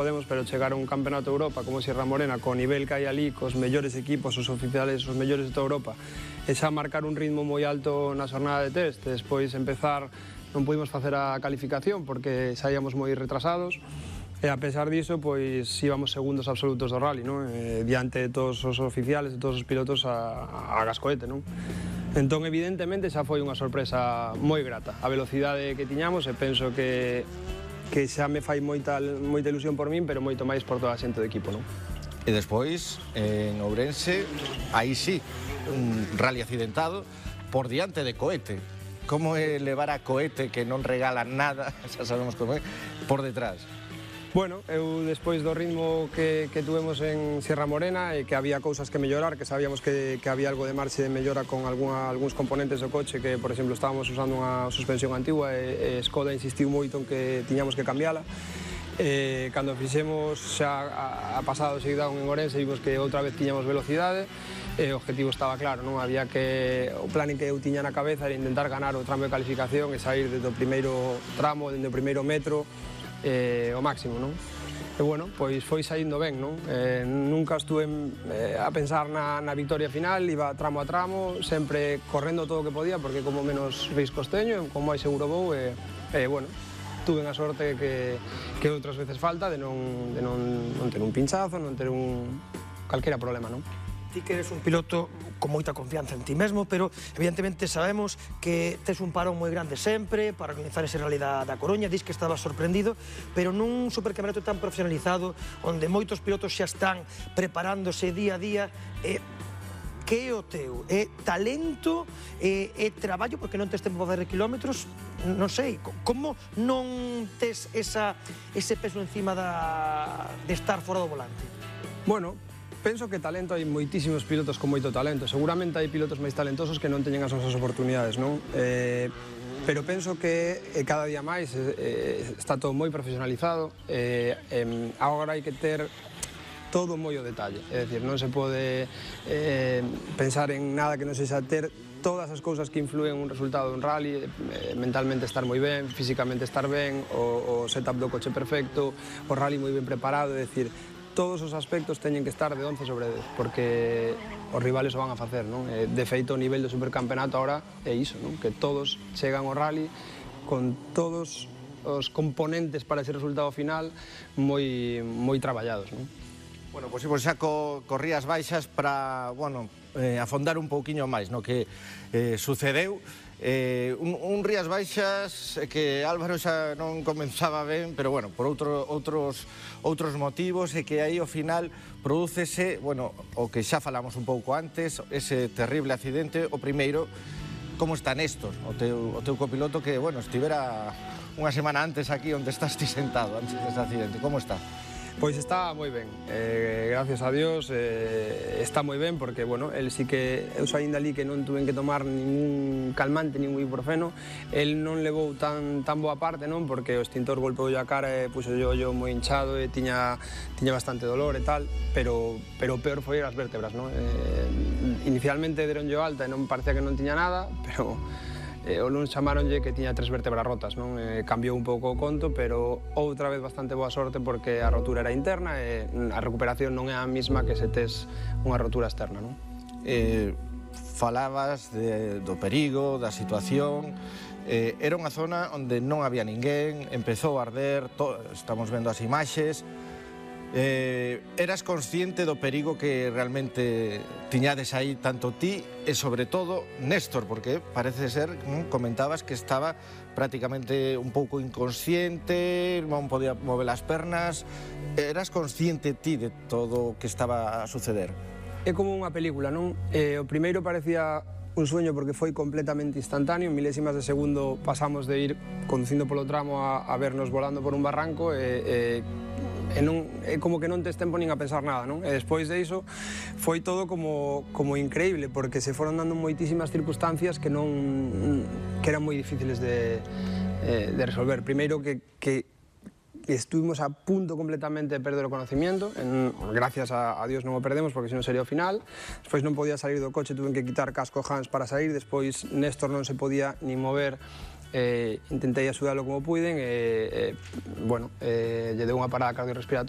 Podemos, pero chegar a un campeonato de Europa como Sierra Morena, co nivel que hai ali, cos mellores equipos, os oficiales, os mellores de toda Europa, e xa marcar un ritmo moi alto na xornada de test, despois empezar, non pudimos facer a calificación porque saíamos moi retrasados, e a pesar diso, pois íbamos segundos absolutos do rally, non? Diante de todos os oficiales, de todos os pilotos a gascoete, non? Entón, evidentemente, xa foi unha sorpresa moi grata. A velocidade que tiñamos, e penso que xa me fai moita ilusión por min, pero moito máis por toda a xente do equipo, non? E despois, en Ourense, aí sí, un rally accidentado por diante de Cohete. Como é levar a Cohete, que non regala nada, xa sabemos como é, por detrás? Bueno, eu despois do ritmo que tuvemos en Sierra Morena e que había cousas que mellorar, que sabíamos que había algo de marxe de mellora con algúns componentes do coche, que, por exemplo, estábamos usando unha suspensión antigua e Skoda insistiu moito en que tiñamos que cambiala. Cando fixemos xa a pasado seguidón en Ourense, vimos que outra vez tiñamos velocidade, e o objetivo estaba claro, non? Había que, o plan que eu tiña na cabeza era intentar ganar o tramo de calificación e sair desde o primeiro tramo, desde o primeiro metro, o máximo, non? E, bueno, pois foi saindo ben, non? Nunca estuve a pensar na victoria final, iba tramo a tramo, sempre correndo todo o que podía, porque como menos riscos teño, como máis seguro vou, e, bueno, tuve a sorte que outras veces falta de non ter un pinchazo, non ter calquera problema, non? Ti que eres un piloto con moita confianza en ti mesmo, pero evidentemente sabemos que tes un parón moi grande sempre para organizar ese rally da Coruña, dis que estabas sorprendido, pero nun supercampeonato tan profesionalizado, onde moitos pilotos xa están preparándose día a día, que é o teu? É talento? É traballo porque non tes tempo para fazer kilómetros? Non sei, como non tes ese peso encima de estar fora do volante? Bueno, penso que talento hai moitísimos pilotos con moito talento. Seguramente hai pilotos máis talentosos que non teñen as nosas oportunidades, non? Pero penso que cada día máis está todo moi profesionalizado. Agora hai que ter todo moi ao detalle. É dicir, non se pode pensar en nada que non sexa ter todas as cousas que influen un resultado dun rally, mentalmente estar moi ben, físicamente estar ben, o setup do coche perfecto, o rally moi ben preparado, é dicir, todos os aspectos teñen que estar de 11 sobre 10, porque os rivales o van a facer, non? De feito, o nivel do supercampeonato agora é iso, non? Que todos chegan ao rally con todos os componentes para ese resultado final moi traballados, non? Bueno, pois xa corrías baixas para, bueno, afondar un pouquiño máis no que sucedeu. Un Rías Baixas que Álvaro xa non comenzaba ben, pero bueno, por outros motivos, e que aí ao final prodúcese, bueno, o que xa falamos un pouco antes, ese terrible accidente. O primeiro, como está Néstor, o teu copiloto, que, bueno, estivera unha semana antes aquí onde estás ti sentado antes dese accidente. Como está? Pois está moi ben, gracias a Dios, está moi ben, porque, bueno, el sí que, eu saíndo ali que non tuven que tomar ningún calmante, ningún ibuprofeno, el non levou tan boa parte, non? Porque o extintor golpeou a cara e puxo o ollo moi hinchado e tiña bastante dolor e tal, pero o peor foi as vértebras, non? Inicialmente deronlle alta e non parecía que non tiña nada, pero o lunes chamaronlle que tiña 3 vértebras rotas, non? Cambiou un pouco o conto, pero outra vez bastante boa sorte porque a rotura era interna e a recuperación non é a mesma que se tes unha rotura externa, non? Falabas do perigo, da situación. Era unha zona onde non había ninguén, empezou a arder, estamos vendo as imaxes. Eras consciente do perigo que realmente tiñades aí tanto ti e, sobre todo, Néstor, porque parece ser, comentabas que estaba prácticamente un pouco inconsciente, non podía mover as pernas. Eras consciente ti de todo o que estaba a suceder? É como unha película, non? O primeiro parecía un sueño porque foi completamente instantáneo, en milésimas de segundo pasamos de ir conducindo polo tramo a vernos volando por un barranco e como que non tes tempo nin a pensar nada, non? E despois de iso foi todo como increíble, porque se foron dando moitísimas circunstancias que eran moi difíciles de resolver. Primeiro que estuvimos a punto completamente de perder o conocimiento, gracias a Dios non o perdemos porque senón sería o final. Despois non podía salir do coche, tuven que quitar casco Hans para sair, despois Néstor non se podía ni mover intentei axudalo como puiden, bueno, lle deu unha parada cardiorrespiratoria.